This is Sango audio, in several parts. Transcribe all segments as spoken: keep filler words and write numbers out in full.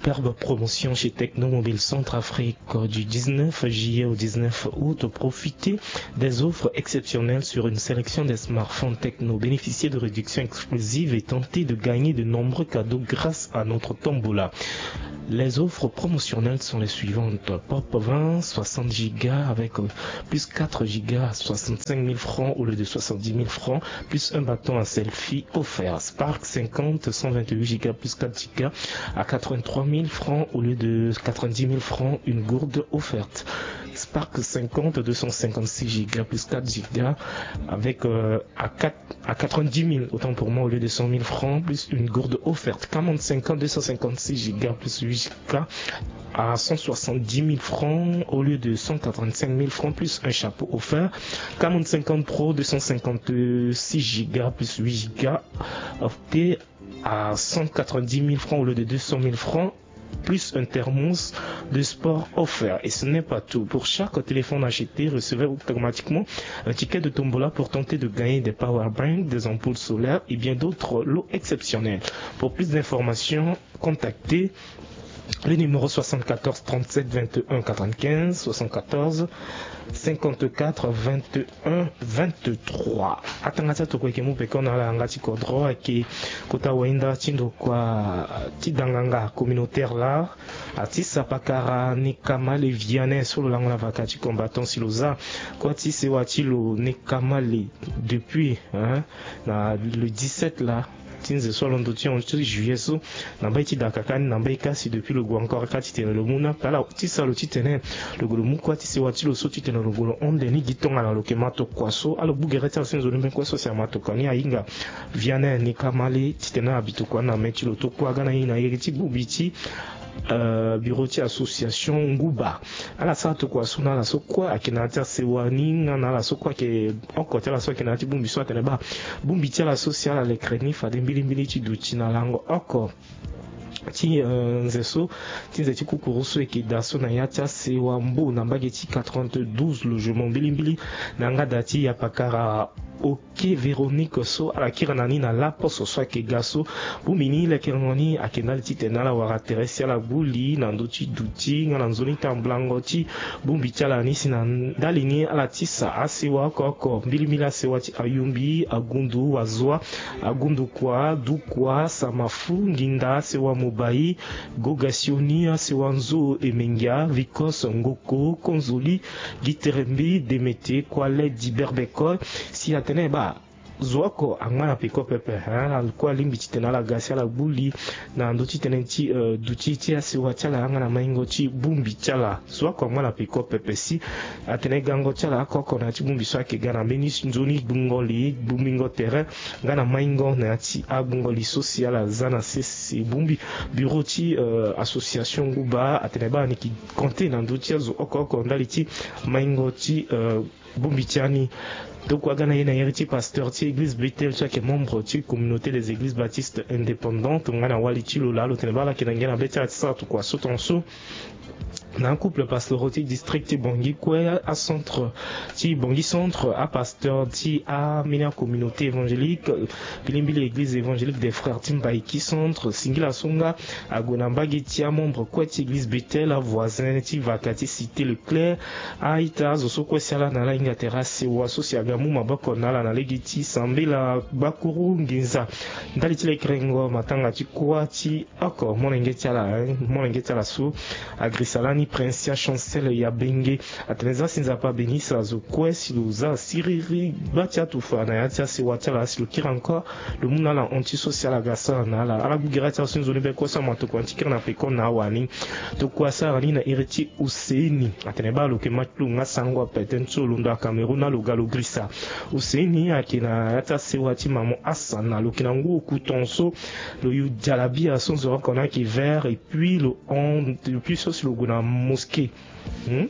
Superbe promotion chez Techno Mobile Centrafrique du dix-neuf juillet au dix-neuf août. Profitez des offres exceptionnelles sur une sélection des smartphones Techno. Bénéficiez de réductions exclusives et tentez de gagner de nombreux cadeaux grâce à notre tombola. Les offres promotionnelles sont les suivantes. Pop vingt, soixante gigas avec, euh, plus quatre gigas, soixante-cinq mille francs au lieu de soixante-dix mille francs, plus un bâton à selfie offert. Spark cinquante, cent vingt-huit gigas plus quatre gigas à quatre-vingt-trois mille francs au lieu de quatre-vingt-dix mille francs, une gourde offerte. Spark cinquante, deux cent cinquante-six gigas plus quatre gigas avec, euh, à quatre, à quatre-vingt-dix mille, autant pour moi, au lieu de cent mille francs, plus une gourde offerte. Camon cinquante, deux cent cinquante-six gigas plus huit gigas à cent soixante-dix mille francs au lieu de cent quatre-vingt-cinq mille francs, plus un chapeau offert. Camon cinquante Pro, deux cent cinquante-six gigas plus huit gigas, offert à cent quatre-vingt-dix mille francs au lieu de deux cent mille francs, plus un thermos de sport offert. Et ce n'est pas tout. Pour chaque téléphone acheté, recevez automatiquement un ticket de tombola pour tenter de gagner des power banks, des ampoules solaires et bien d'autres lots exceptionnels. Pour plus d'informations, contactez le numéro soixante-quatorze trente-sept vingt et un quatre-vingt-quinze, soixante-quatorze cinquante-quatre vingt et un vingt-trois. Atanga ti atokua eke mu peko na ala yanga ti kodro ake kota wainda ti ndokua ti danganga communautaire la. Ati sapakara Nekamale Vianney so lo lango na vaka ti combattant si lo za kua ti sewa ti lo Nekamale depuis, hein, na le dix-sept la ti nze so alondo ti hon ti juillet so. Na mbai ti dakaka ni na mbai kasi depuis lo gue encore ka titene lo mu na pe ala ti sa lo titene lo gue lo mu kua ti sewa ti lo so titene lo gue lo hon nde ni gi tongana lo ke ma tokua so. Ala gbu gere ti ala so nzoni mbeni kue so si ama tokua ni ahinga Vianney Nekamale titene abi tokua ni na me ti lo tokua ga na ye na iri ti bongbi ti, euh, bureau ti association Nguba. Ala sara tokua so na ala so kue ayeke na ya ti asewa ni nga na ala so kue ayeke oko ti ala so ayeke na ya ti bongbi so atene baa bongbi ti ala so si ala lekere ni fade mbilimbili ti duti na lango oko ti, euh, nze so ti nze ti kukuru so eke daa so na ya ti asewa Mbo na mbage ti quatre-vingt-douze logement mbilimbili na yanga daa ti yapakara Oke Véronique so ala kiri na ni na laposo so ayeke ga so. Bongbi ni lekerengo ni ayeke ndali titene ala wara tere si ala gbu li na ndö ti duti nga na nzoni tambulango ti bongbi ti ala ni si na ndali ni ala tisa asewa oko oko mbilimbili asewa ti Ayumbi, Agundu, Wazoa, Agundukua, Dukua, Samafu, Nginda, asewa Mobai, Gogasioni, asewa Nzo, Emengia, Vikos, Ngoko, Konzoli, Giterembi, Demete, Kuale, Diberbeko, si atene baa zo oko angba na peko pepe, hein, ala kue alingbi titene ala ga si ala gbu li na ndö ti tënë ti, euh, duti ti asewa ti ala nga na maingo ti bongbi ti ala. Zo oko angba na peko pepe si atene gango ti ala oko oko na ya ti bongbi so ayeke ga na mbeni nzoni gbungo li, gbungbingo tere nga na maingo na ya ti agbungo li so si ala za na sese bongbi. Bureau ti, euh, association Nguba atene baa ni yeke compter na ndö ti azo oko oko ndali ti maingo ti, euh, bongbi ti ani. Tokua ga na ye na iri ti pasteur ti église Bethel so ayeke membre ti communauté des églises baptistes indépendantes nga na wali ti lo laa lo tene baa ala yeke na ngia na be ti ala ti sara tokua so tongaso. Na acouple pastoral ti district ti Bangui kue, acentre ti Bangui centre, apasteur ti ambeni acommunauté évangélique, mbilimbili église évangélique des frères ti Mbaïki centre, singila so nga ague na mbage ti amembre kue ti église Bethel, avoisin ti vaka ti Cité Leclerc, a-ita azo so kue si ala na ala hinga tere asewa so si aga mu maboko na ala na lege ti sambela gbakuru nginza. Ndali ti lekerengo matanga ti kuâ ti oko molenge ti ala, eh, molenge ti ala so agrisa lani Princia Chancel ya Benge. Atene za si Nzapa abeni sa zo kue si lo za siriri gba ti atufa na ya ti asewa ti ala si lo kiri encore lo mu na ala hon ti so si ala ga sara na ala. Ala gbu gere ti ala so nzoni be kue so ama tokua ni ti kiri na peko na awani. Tokua asara ni na iri ti Husseini. Atene baa lo yeke ma ti lo nga sango ape tënë ti lo londo aCameroun na lo ga lo girisa. Husseini ayeke na ya ti asewa ti Maman Hassan na lo yeke na ngu oku tongaso. Lo yu jalabia so nzoni oko ni ayeke vert et puis lo hon depuis so si lo gue na mosquée. Hmm?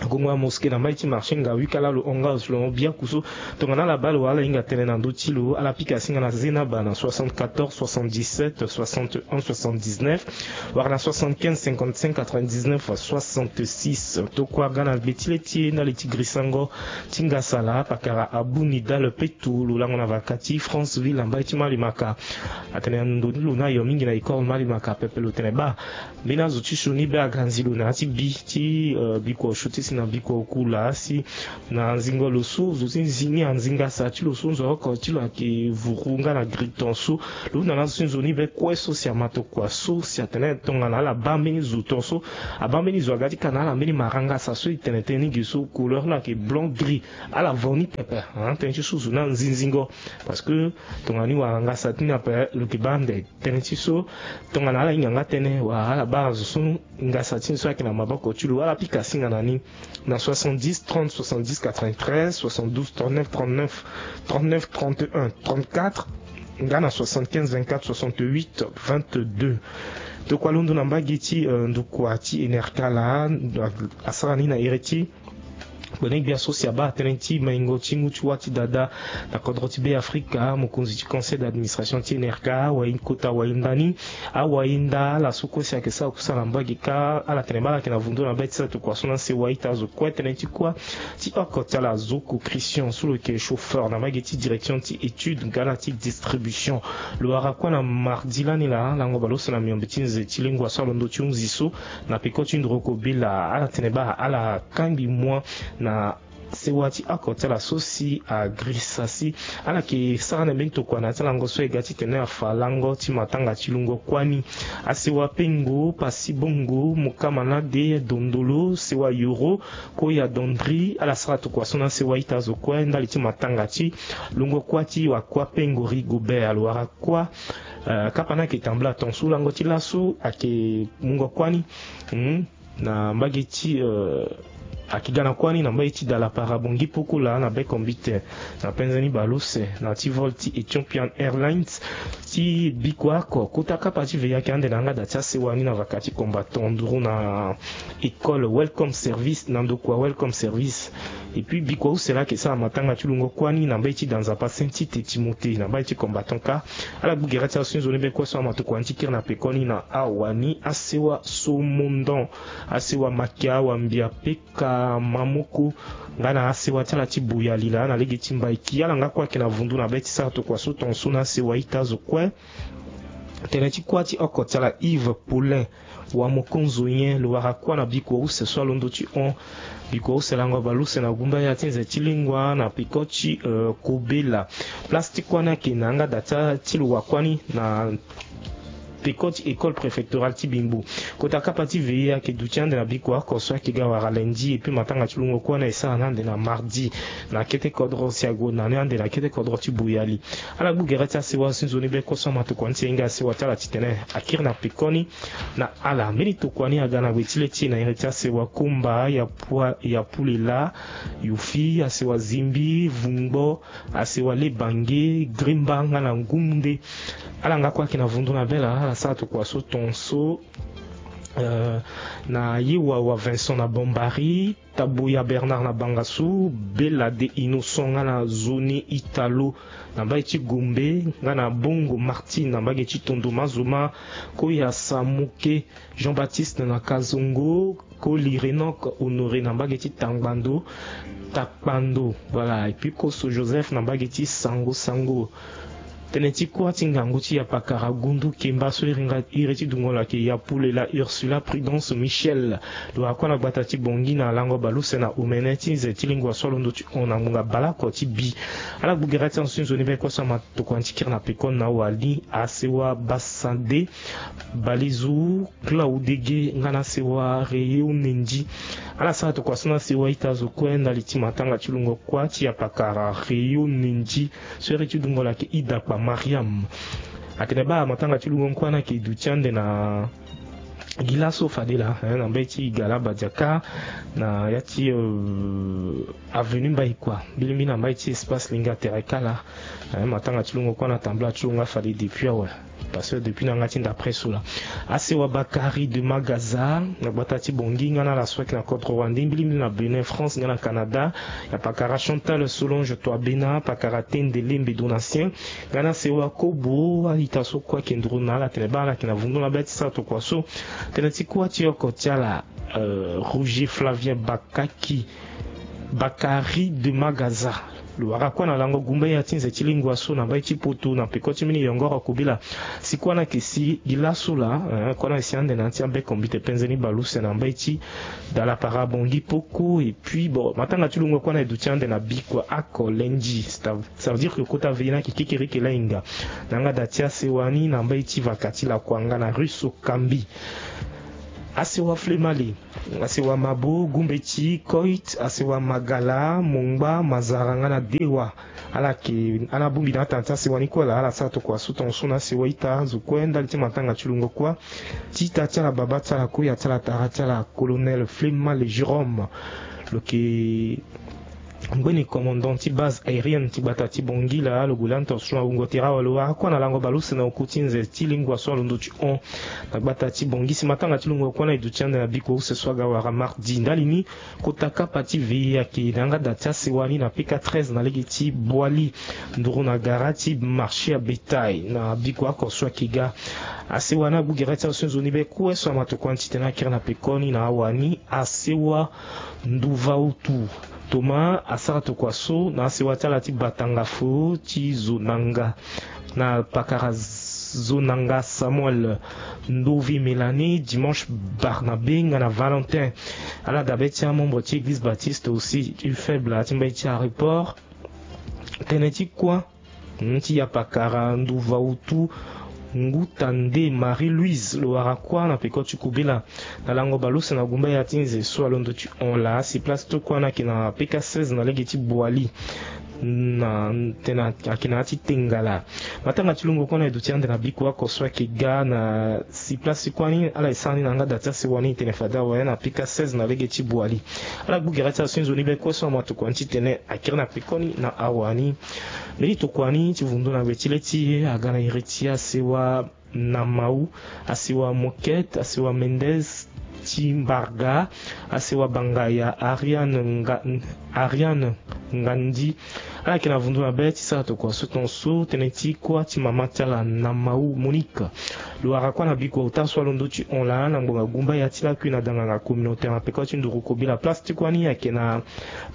Gongo ya mosquée na mbai ti marché ngawi kala lo hon nga lo si lo hon biaku so. Tongana ala baa lo wala ala hinga tënë na ndö ti lo, ala pika singa na zenaba na soixante-quatorze soixante-dix-sept soixante-et-un soixante-dix-neuf, wala na soixante-quinze cinquante-cinq quatre-vingt-dix-neuf soixante-six. Tokua ga na gbe ti le ti e ndali ti grisango ti ngasala pakara Abou Nidal Peto, lo lango na vaka ti Franceville na mbai ti Malimaka. Atene ndo ni lo ni ayo mingi na école Malimaka pepe. Lo tene baa mbeni azo ti sioni be aga nzi lo na ya ti bi ti, eh, bikua osio ti si na bikua oku laa si na nzingo lo so zo ti nzi ni anzi ngasa ti lo so nzo oko ti lo ayeke vuru nga na griton so. Lo hunda na azo ti nzoni be kue so si ama tokua so si atene tongana ala baa mbeni zo ton so, abaa mbeni zo aga ti ka na ala mbeni mara ngasa so e tene tënë ni ge so couleur ni ayeke blanc gris. Ala vo ni pepe. Tënë ti so zo ni anzi nzingo. Parce que tongana ni wara ngasa ti ni ape lo yeke baa ande. Tënë ti so tongana ala hinga nga tënë wala ala baa zo so ngasa ti ni so ayeke na maboko ti lo, ala pika singa na ni na soixante-dix trente soixante-dix quatre-vingt-treize soixante-douze trente-neuf trente-neuf trente-neuf trente-et-un trente-quatre nga na soixante-quinze vingt-quatre soixante-huit vingt-deux. Tokua londo na mbage ti, eh, ndukua ti Enerka laa, asara ni na iri ti Bone gbia so si abaa tënë ti maingo ti ngu ti wâ ti dada na kodro ti Be Afrika, mokonzi ti conseil d'administration ti N R K, awayi kota awayi nda ni, awayi nda ala so kue si ayeke sara kusala na mbage kâ, ala tene baa ala yeke na vundu na be ti sara tokua so na sewa ita azo kue. Tënë ti kuâ ti oko ti ala Zoko Christian so lo yeke chauffeur na mbage ti direction ti étude nga na ti distribution. Lo wara kuâ na mardi lani laa, lango bale use na miombe ti nze ti lengua so alondo ti hunzi so, na peko ti nduru oko bila, ala tene baa ala kangbi mua na sewa ti oko ti ala so si agrisa si ala yeke sara na mbeni tokua na ya ti lango so e ga titene afa lango ti matanga ti lungo kuâ ni. Asewa Pengo, Pasi Bongo, Mukamanade, Dondolo, sewa Yoro, Koya Dondri, ala sara tokua so na sewa ita azo kue ndali ti matanga ti lungo kuâ ti wakua Pengo Rigobert. Lo wara kuâ, eh, kapa ni ayeke tambula tongaso lango ti laso ayeke mungo kuâ ni. Hmm. Na mbage ti, eh, ayeke ga na kuâ ni na mbage ti Dalapara Bongi Pokola na Bekombite, na penze ni bale use na ti vol ti Ethiopian Airlines ti bikua oko. Kota kapa ti veillée ayeke ande na yanga da ti asewa ni na vaka ti combattant nduru na école Welcome Service, na ndokua Welcome Service. Et puis bikua use laa ayeke sara matanga ti lungo kuâ ni na mbage ti da nzapa Saint Tite Timothée na mbage ti combattant kâ. Ala gbu gere ti azo ti nzoni be kue so ama tokua ni ti kiri na pekoni na awani asewa Somondon, asewa Makia, Wambia, Peka, Mamoko, nga na asewa ti ala ti Boyali laa na lege ti Mbaiki. Ala nga kue ayeke na vundu na be ti sara tokua so tongaso na asewa ita azo kue. Tene ti kuâ ti oko ti ala Yves Paulin Wamokonzo nyen, lo wara kuâ na bikua use so alondo ti hon. Bikua use lango bale use na gumba ya ti nze ti lingua na peko ti, eh, Kobela. Place ti kuâ ni ayeke na yanga da ti, ti lo wa kuâ ni na peko ti école préfectorale ti Bimbo. Kota kapa ti veillée ayeke duti ande na bikua oko so ayeke ga wara lundi, et puis matanga ti lungo kuâ ni ayeke sara ni ande na mardi na kete kodro si ague na ni ande na kete kodro ti Boyali. Ala gbu gere ti asewa si nzoni be kue so ama tokua ni ti hinga asewa ti ala titene akiri na pekoni na ala. Mbeni tokua ni aga na gue ti le ti e na iri ti asewa Komba, ya Pua-, ya Pulela, Yufi, asewa Zimbi, Vungbo, asewa Lebange, Grimba nga na Ngumunde. Ala nga kue ayeke na vundu na be laa, ala sara tokua so tongaso, eh, na Yewawa Vincent na Bombari, Taboya Bernard na Bangassou, Bella de Innocent nga na Zone Italo na mbage ti Gombe, nga na Bongo Martine na mbage ti Tondo Mazoma, Koya Samuke, Jean-Baptiste na Kazongo, Koli Renok Honoré na mbage ti Tangbando, Takpando, voilà, et puis Koso Joseph na mbage ti Sango Sango. Tene ti kuâ ti ngangu ti Yapakara Gundu Kemba so iri nga, iri ti dungo lo ayeke Yapulela Ursula Prudence Michel. Lo wara kuâ na gbata ti Bongi na lango bale use na omene ti nze ti lingua so alondo ti hon na ngbonga baleoko ti bi. Ala gbu gere ti azo ti nzoni be kue so ama tokua ni ti kiri na pekoni na wali asewa Basade, Balezu, Klaudege nga na asewa Reyo Nendi. Ala sara tokua so na sewa ita azo kue ndali ti matanga ti lungo kuâ ti Yapakara Reyo Nendi. So iri ti dungo lo ayeke Idakpa Mariam. Atene baa matanga ti lungo kuâ ni ayeke duti ande na gi laso fade laa, eh, na mbage ti Igala Badiaka, na ya ti, euh, avenue Mbaïkua, mbilimbili na mbage ti espace Linga Terre Kala. Eh, matanga ti lungo kuâ ni atambula ti lo nga fade depuis awe. Parce que depuis na nga ti nda presse la, asewa Bakari de Magaza na gbata ti Bongi, nga na ala so ayeke na kodro wande mbilimbili na Benin, France, nga na Canada. Ya pakara Chantal Solonge Toabena, pakara Tende Lembe Donatien, nga na asewa Kobo. A-ita so kue ayeke nduru na ala, tene baa ala yeke na vundu na be ti sara tokua so. Tene ti kuâ ti oko ti ala, euh, Roger Flavien Bakaki, Bakari de Magaza. Lo wara kuâ na lango gumba ya ti nze ti lingua so na mbai ti Poto na peko ti mbeni yongoro kobela. Si kuâ na yeke si gi laso laa, eh, kuâ na yeke si ande na ya ti abeko mbite penze ni baleuse na mbai ti Dalapara Bongi Poko. Et puis bon, matanga ti lungo kuâ na e duti ande na bikua oko lendi. Ça, ça veut dire que kota veillé ni ayeke kekereke lahinga na yanga da ti asewa ni na mbai ti vaka ti Lakuanga na rue Sokambi. Asewa Flemale, asewa Mabo, Gumbeti, Koit, asewa Magala, Mongba, Mazara nga na Dewa. Ala yeke, ala bongbi na atanga ti asewa ni kue laa, ala sara tokua so tongaso na asewa ita azo kue ndali ti matanga ti lungo kuâ ti ita ti ala, baba ti ala, koya ti ala, tara ti ala, Colonel Flemale Jérôme. Lo yeke ngbeni commandant ti base aérienne ti gbata ti Bongi laa. Lo gue lani tongaso na wungo tere awe. Lo wara kuâ na lango baleuse na oku ti nze ti lingua so alondo ti hon na gbata ti Bongi. Si matanga ti lungo kuâ na e duti ande na bikua use so aga wara mardi. Ndali ni, kota kapa ti veillé ayeke na yanga da ti asewa ni na P K treize na lege ti Boali, nduru na gara ti marché ya bétail, na bikua oko so ayeke ga. Asewa ni agbu gere ti azo so nzoni be kue so ama tokua ni titene akiri na pekoni na awa ni. Asewa Nduvautu Thomas asara tokua so na asewa ti ala ti Batanga Fo ti Zonanga, na pakara Zonanga Samuel, Ndovi Mélanie, Dimanche Barnabé nga na Valentin. Ala dabe ti amembre ti Église Baptiste aussi du Faible ti mbai ti Aéroport. Tënë ti kuâ, hmm, ti ya pakara Nduvautu Nguta nde Marie-Louise, lo wara kuâ na peko ti kobela na lango baleuse na gumba ya ti nze so alondo ti hon laa. Si place ti kuâ ni ayeke na P K seize na lege ti Boali, na tene ayeke na ya ti Tengala. Matanga ti lungo kuâ na e duti ande na bikua oko so ayeke ga. Na si place ti kuâ ni ala e sara ni na yanga da ti asewa ni, e tene fade awe na P K seize na lege ti Boali. Ala gbu gere ti azo so nzoni be kue so ama tokua ni titene akiri na pekoni na awa ni. Mbeni tokua ni ti vundu na gbe ti le ti e aga na iri ti asewa Namau, asewa Moquette, asewa Mendez ti Mbarga, asewa Bangaya Ariane Nga-, Ariane Ngandi. Ala yeke na vundu na be ti sara tokua so tongaso, tënë ti kuâ ti mama ti ala Namau Monique. Lo wara kuâ na bikua ota so alondo ti hon laa na ngbonga gumba ya ti lakui na danganga communautaire na peko ti nduru kobela. Place ti kuâ ni ayeke na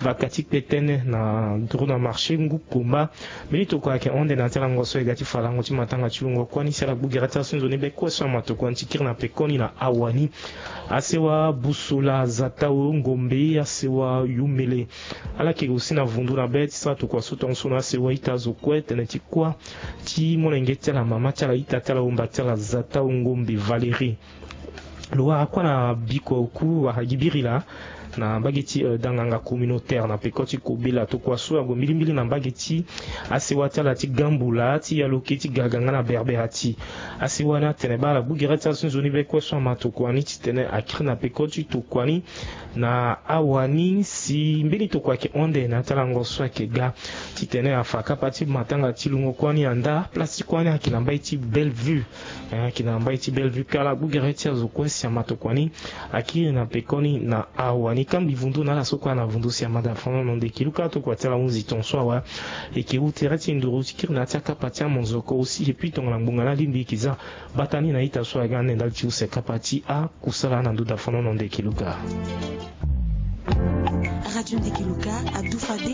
vaka ti kpe tënë na nduru na marché Ngu Komba. Mbeni tokua ayeke hon ande na ya ti alango so e ga ti fa lango ti matanga ti lungo kuâ ni. Si ala gbu gere ti azo so nzoni be kue so ama tokua ni ti kiri na pekoni na awa ni. Asewa Busola Zatao Ngombe, asewa Yumele. Ala yeke aussi na vundu na be ti sara tokua so tongaso na asewa ita azo kue, tënë ti kuâ ti molenge ti ala, mama ti ala, ita ti ala, wumba ti ala Zatao Ngombe Valérie. Lo wara kuâ na bikua oku wara gi biri laa na mbage ti, euh, danganga communautaire na peko ti kobela. Tokua so ague mbilimbili na mbage ti asewa ti ala ti Gambula, ti Yaloke, ti Gaga nga na Berberati. Asewa ni atene baa ala gbu gere ti azo so nzoni be kue so ama tokua ni titene akiri na peko ti tokua ni na awa ni. Si mbeni tokua ayeke hon ande na ya ti alango so ayeke ga titene afa kapa ti matanga ti lungo kuâ ni andaa. Place ti kuâ ni ayeke na mbai ti Bellevue. Eh, ayeke na mbai ti Bellevue. Ka ala gbu gere ti azo kue si ama tokua ni akiri na pekoni na awa ni. Kambi vundu na ala so kue ana vundu si ama da fano na ndo eke luka tokua ti ala hunzi tongaso awe. E yeke hu tere ti nduru ti kiri na ya ti akapa ti amonzoko aussi. Et puis tongana ngbonga ni alingbi e yeke za, bata ni na ita so aga ande ndali ti use kapa ti akusala na ndo da fano na ndo eke luka. Radio Ndeke Luka adu fade